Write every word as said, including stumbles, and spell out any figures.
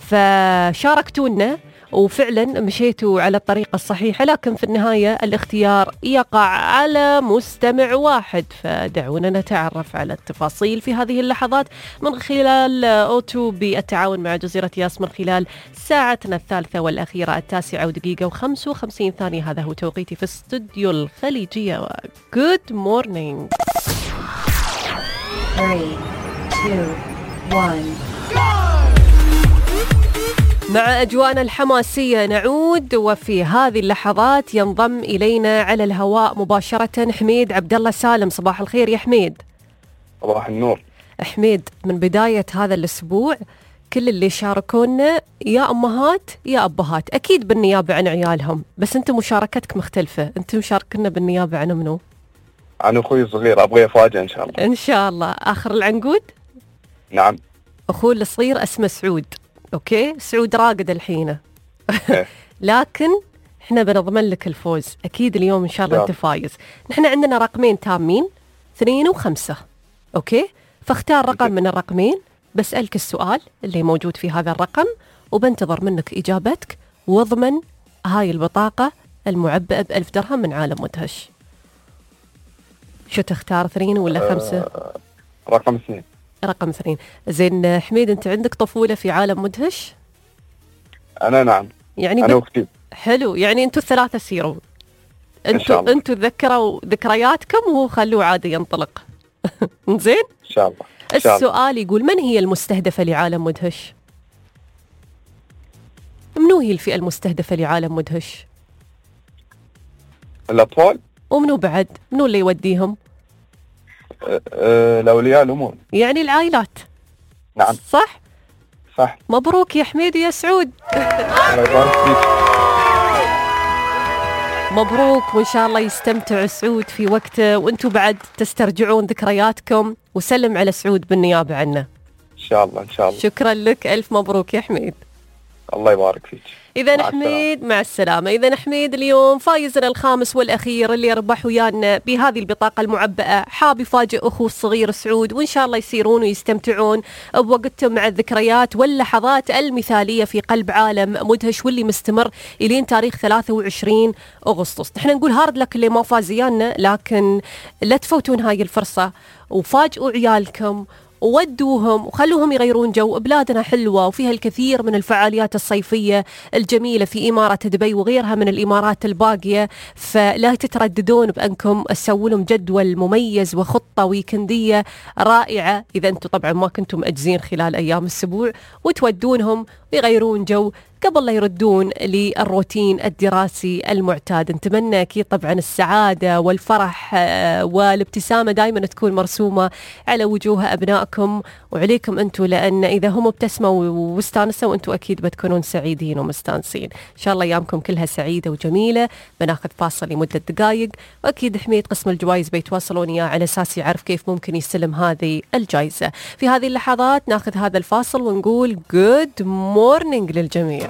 فشاركتونا وفعلا مشيتوا على الطريقة الصحيحة، لكن في النهاية الاختيار يقع على مستمع واحد. فدعونا نتعرف على التفاصيل في هذه اللحظات من خلال أوتو بالتعاون مع جزيرة ياس من خلال ساعتنا الثالثة والأخيرة التاسعة ودقيقة وخمس وخمسين ثانية. هذا هو توقيتي في استوديو الخليجية. Good morning. three, two, one. مع أجواءنا الحماسية نعود، وفي هذه اللحظات ينضم إلينا على الهواء مباشرة حميد عبد الله سالم. صباح الخير يا حميد. صباح النور. حميد، من بداية هذا الأسبوع كل اللي شاركونا يا أمهات يا أبهات، أكيد بالنيابة عن عيالهم، بس أنت مشاركتك مختلفة. أنت مشاركنا بالنيابة عن منو؟ عن أخوي الصغير، أبغى أفاجئ إن شاء الله. إن شاء الله. آخر العنقود؟ نعم. أخوه الصغير اسمه سعود. أوكي، سعود راقد الحين. لكن إحنا بنضمن لك الفوز أكيد اليوم إن شاء الله. أنت فايز. نحن عندنا رقمين تامين، اثنين وخمسة. أوكي، فاختار رقم من الرقمين، بسألك السؤال اللي موجود في هذا الرقم وبنتظر منك إجابتك، واضمن هاي البطاقة المعبأة بألف درهم من عالم مدهش. شو تختار، اثنين ولا خمسة؟ أه رقم اثنين. رقم اثنين. زين حميد، أنت عندك طفولة في عالم مدهش؟ أنا نعم. يعني أنا وأختي. حلو، يعني أنتوا الثلاثة سيروا. أنتوا أنتوا تذكروا ذكرياتكم وخلوه عادي ينطلق. زين؟ إن شاء الله. إن شاء الله. السؤال يقول: من هي المستهدفة لعالم مدهش؟ منو هي الفئة المستهدفة لعالم مدهش؟ الأطفال. ومنو بعد؟ منو اللي يوديهم؟ أه أه الأولياء الأمور، يعني العائلات. نعم. صح؟ صح. مبروك يا حميد يا سعود. الله يبارك فيك. مبروك، وإن شاء الله يستمتع سعود في وقته وأنتوا بعد تسترجعون ذكرياتكم. وسلم على سعود بالنيابة عنا. إن شاء الله. إن شاء الله. شكرا لك، ألف مبروك يا حميد. الله يبارك فيك. إذا حميد مع السلامة. إذا حميد اليوم فايزنا الخامس والأخير اللي يربح ويانا بهذه البطاقة المعبأة، حاب يفاجئ أخوه الصغير سعود، وإن شاء الله يسيرون ويستمتعون بوقتهم مع الذكريات واللحظات المثالية في قلب عالم مدهش، واللي مستمر إلين تاريخ ثلاثة وعشرين أغسطس. نحن نقول هارد لك اللي ما فاز ويانا، لكن لا تفوتون هاي الفرصة وفاجئوا عيالكم وودوهم وخلوهم يغيرون جو. بلادنا حلوة وفيها الكثير من الفعاليات الصيفية الجميلة في إمارة دبي وغيرها من الإمارات الباقية، فلا تترددون بأنكم تسووا لهم جدول مميز وخطة ويكندية رائعة إذا أنتم طبعا ما كنتم مأجزين خلال أيام الأسبوع، وتودونهم ويغيرون جو قبل لا يردون للروتين الدراسي المعتاد. نتمنى أكيد طبعا السعادة والفرح والابتسامة دائما تكون مرسومة على وجوه أبنائكم وعليكم أنتم، لأن إذا هم ابتسموا واستانسوا أنتم أكيد بتكونون سعيدين ومستانسين. إن شاء الله أيامكم كلها سعيدة وجميلة. بناخذ فاصل لمدة دقائق، وأكيد حميد قسم الجوائز بيتواصلون إياه على أساس يعرف كيف ممكن يستلم هذه الجائزة. في هذه اللحظات ناخذ هذا الفاصل ونقول good morning للجميع.